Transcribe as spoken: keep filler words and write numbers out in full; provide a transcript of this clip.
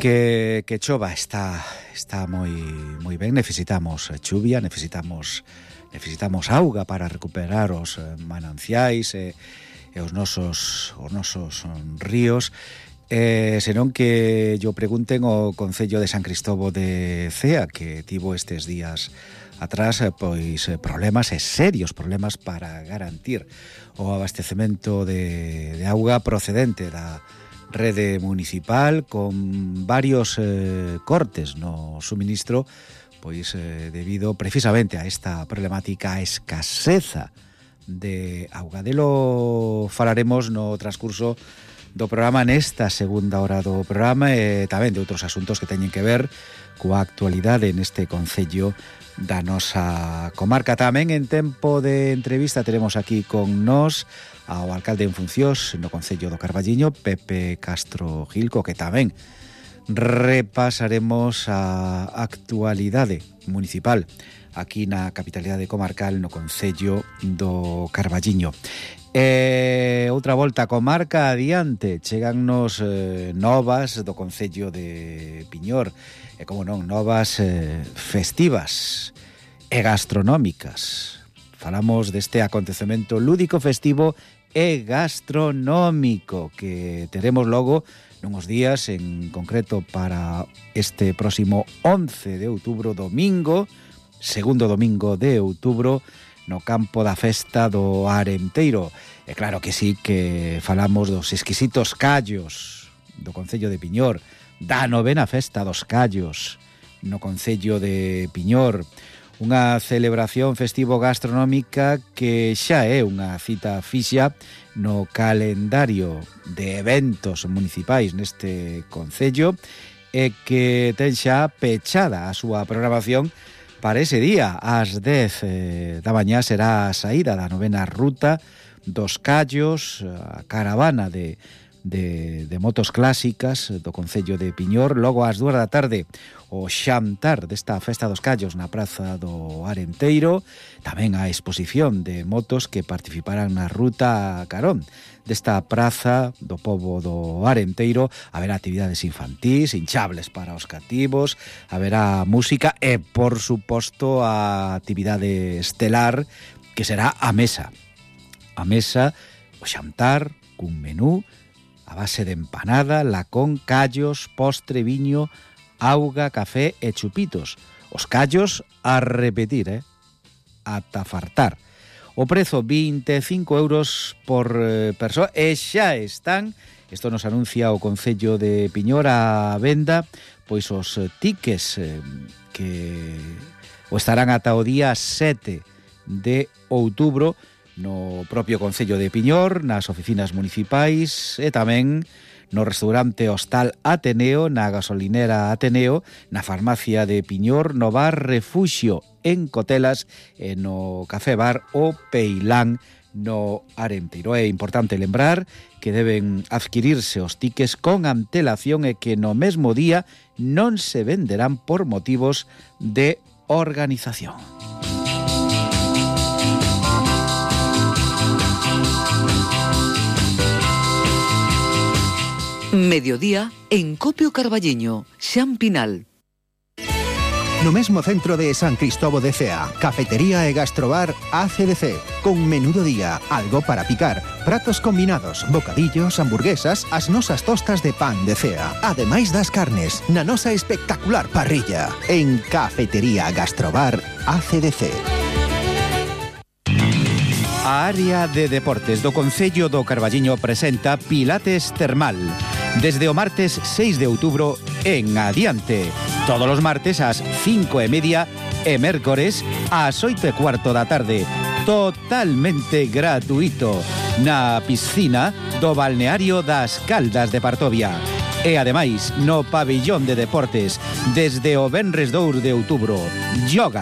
Que, que chova está está moi moi ben. Necesitamos chuvia, necesitamos necesitamos auga para recuperar os mananciais e, e os nosos os nosos ríos. Eh, senón que yo pregunten o Concello de San Cristovo de Cea, que tivo estes días atrás pois problemas e serios problemas para garantir o abastecemento de, de auga procedente da rede municipal, con varios eh, cortes no suministro, pois eh, debido precisamente a esta problemática, a escaseza de auga. Delo falaremos no transcurso do programa, nesta segunda hora do programa, e tamén de outros asuntos que teñen que ver coa actualidade neste concello da nosa comarca. Tamén en tempo de entrevista teremos aquí con nós ao alcalde en funcións no Concello do Carballiño, Pepe Castro Gilco, que tamén repasaremos a actualidade municipal aquí na capitalidade comarcal no Concello do Carballiño. E outra volta a comarca adiante, chegannos eh, novas do Concello de Piñor, e como non, novas eh, festivas e gastronómicas. Falamos deste acontecemento lúdico festivo e gastronómico que teremos logo nuns días, en concreto para este próximo once de outubro, domingo, segundo domingo de outubro, no campo da festa do Arenteiro. E claro que sí, que falamos dos exquisitos callos do Concello de Piñor, da novena festa dos callos no Concello de Piñor, unha celebración festivo gastronómica que xa é unha cita fixa no calendario de eventos municipais neste concello e que ten xa pechada a súa programación para ese día. Ás dez eh, da mañá será a saída da novena ruta dos callos, a caravana de De, de motos clásicas do Concello de Piñor. Logo ás dúas da tarde o xantar desta festa dos callos na praza do Arenteiro, tamén a exposición de motos que participarán na ruta carón desta praza do pobo do Arenteiro. Haberá actividades infantís, hinchables para os cativos, haberá música e, por suposto, a actividade estelar que será a mesa a mesa, o xantar cun menú a base de empanada, lacón, callos, postre, viño, auga, café e chupitos. Os callos a repetir, eh? Ata fartar. O prezo vinte e cinco euros por eh, persoa e xa están, isto nos anuncia o Concello de Piñor, a venda, pois os tickets eh, que o estarán ata o día sete de outubro no propio Concello de Piñor, nas oficinas municipais e tamén no restaurante Hostal Ateneo, na gasolinera Ateneo, na farmacia de Piñor, no bar Refuxio en Cotelas e no café bar O Peilán no Arenteiro. É importante lembrar que deben adquirirse os tickets con antelación e que no mesmo día non se venderán por motivos de organización. Mediodía en Copio Carballiño, Xan Pinal. No mesmo centro de San Cristovo de Cea, cafetería e gastrobar A C D C, con menú do día, algo para picar, pratos combinados, bocadillos, hamburguesas, as nosas tostas de pan de Cea, ademais das carnes, na nosa espectacular parrilla, en Cafetería Gastrobar A C D C. A área de deportes do Concello do Carballiño presenta Pilates Termal desde o martes seis de outubro en adiante. Todos os martes ás cinco e media e mércores ás oito e cuarto da tarde. Totalmente gratuito na piscina do balneario das Caldas de Partovia. E ademais no pabillón de deportes desde o venres dous de outubro. Yoga,